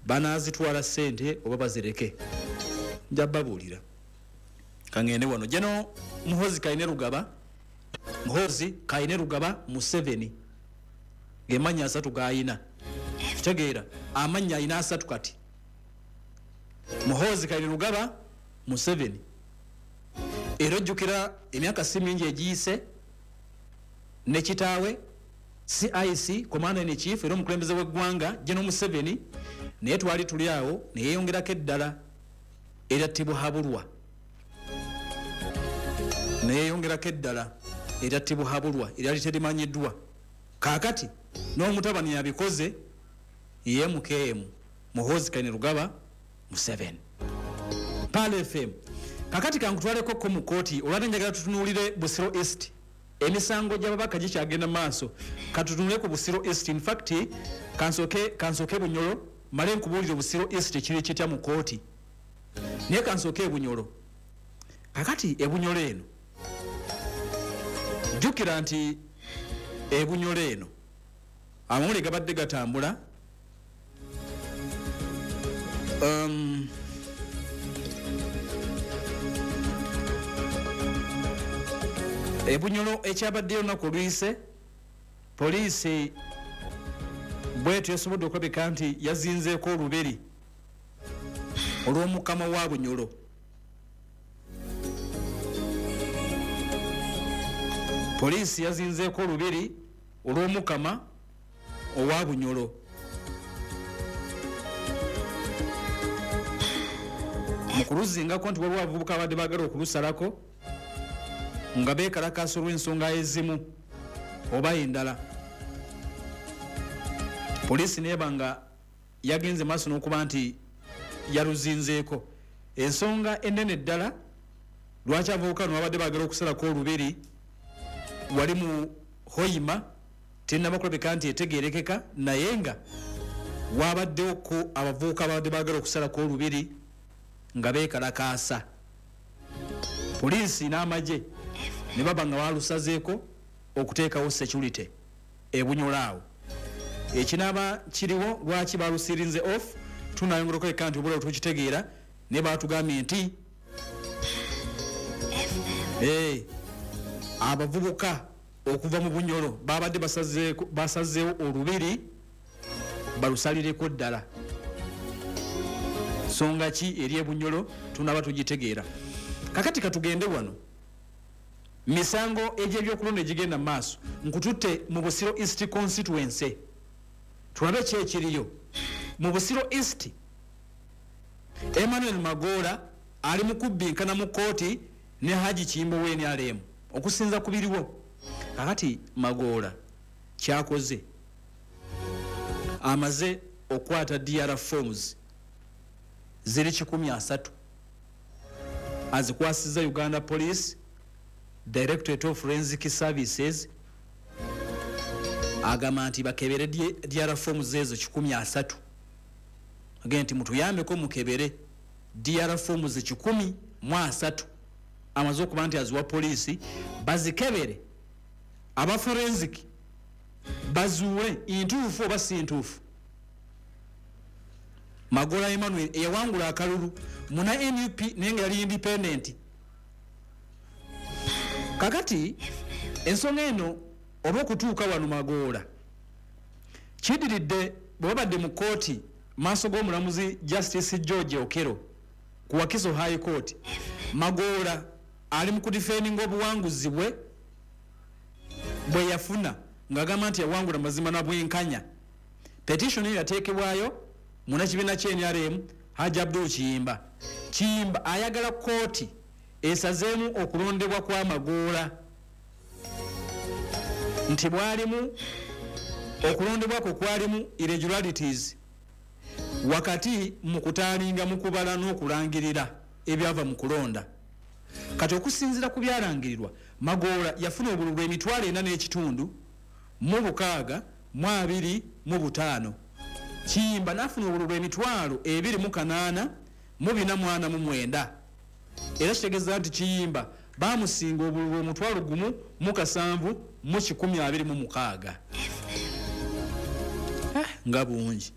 Banazitwala ssente oba bazireke, nja babuulira. Kangende wano jeno Muhozi Kainerugaba, Muhozi Kainerugaba Museveni, gemanya asatu gayina, kitegeera amannya ayina asatu kati, Muhozi Kainerugaba Museveni. Era ojjukira emyaka si mingi egiyise ne kitaawe CIC, Commander in Chief, era omukulembeze w'eggwanga General Museveni, naye twali tuli awo neyeyongerako eddala erya Tibuhaburwa, neyeyongerako eddala erya Tibuhaburwa eryali terimanyiddwa. Kaakati n'omutabani yabikoze, ye MKM Muhoozi Kainerugaba Museveni. Pearl FM. Kakati kankutwaleko ko mu kooti, olwate njagala tutunuulire Busiro East. Emisango gy'ababaka gikyagenda maaso, katutunule ku Busiro East. In fact kansooke Bunyoro male nkubuulire Busiro East kiri kitya mu kooti, naye kansooke Ebunyoro. Kakati Ebunyoro eno, jjukira nti Ebunyoro eno amawulire gabadde gatambula, Ebunyoro ekyabaddeyo olunaku oluyise, poliisi bwetyo yasobodde okulabika nti yazinzeeko olubiri olw'omukama wa Bunyoro. Poliisi yazinzeeko olubiri olw'omukama owa Bunyoro. Mu kuluzingako nti waliwo abavubuka abadde baagala okulusalako nga beekalakaasa olw'ensonga ezimu oba endala, poliisi neeba nga yagenze maaso n'okuba nti yaluzinzeeko. Ensonga ennene ddala lwaki abavubuka bano babadde baagala okusalako olubiri wali mu Hoima tennaba kulabika nti etegeerekeka, naye nga wabaddewoko abavubuka babadde baagala okusalako olubiri nga beekalakaasa, poliisi n'amagye ne baba nga balusazeeko okuteekawo security Ebunyoro awo. Ekinaaba kiriwo lwaki balusirinze off tunayongera okuleka nti obulawo tukitegeera, naye batugambye nti abavubuka okuva mu Bunyoro babadde basazeewo olubiri balusalireko ddala. Nsonga ki eri Ebunyoro tunaba tugitegeera. Kakati katugende wano misango egy'ebyokulonda egigenda mu maaso, nkututte mu Busiro East constituency tulabe ki ekiriyo mu Busiro East. Emmanuel Magoola ali mu kubbinkana mu kkooti ne Haji Kiyimba wa NRM okusinza ku biriwo. Kakati Magoola kyakoze, amaze okukwata DR forms ziri 130, azikwasizza Uganda Police Directorate of Forensic Services, agamba nti bakebere DR forms ezo 130. Agenda nti mutuyambeko mukebere DR forms 130, amaze okuba nti aziwa poliisi bazikebere, aba forensic bazuule ntuufu oba si ntuufu. Magoola Emmanuel eyawangula akalulu muna NUP naye nga yali independent. Kakati ensonga eno oba okutuuka wano Magoola kidiridde bwe babadde mu kkooti maaso g'omulamuzi Justice George Okello ku Wakiso High Court. Magoola ali mu kudifendinga obuwanguzi bwe bwe yafuna ng'agamba nti yawangula mazima na bwenkanya. Petition eyo yateekebwayo munnakibiina kya NRM Haji Abdul Kiyimba. Kiyimba ayagala kkooti esazeemu okulondebwa kwa Magoola nti bwalimu okulondebwa kwe kwalimu irregularities wakati mu kutaalinga mu kubala n'okulangirira ebyava mu kulonda. Kati okusinziira ku byalangirirwa, Magoola yafuna obululu 4,565 625. Kiyimba n'afuna obululu 28,449. Era kitegeeza nti Kiyimba bamusinga obululu 10,007,126. Nga bungi.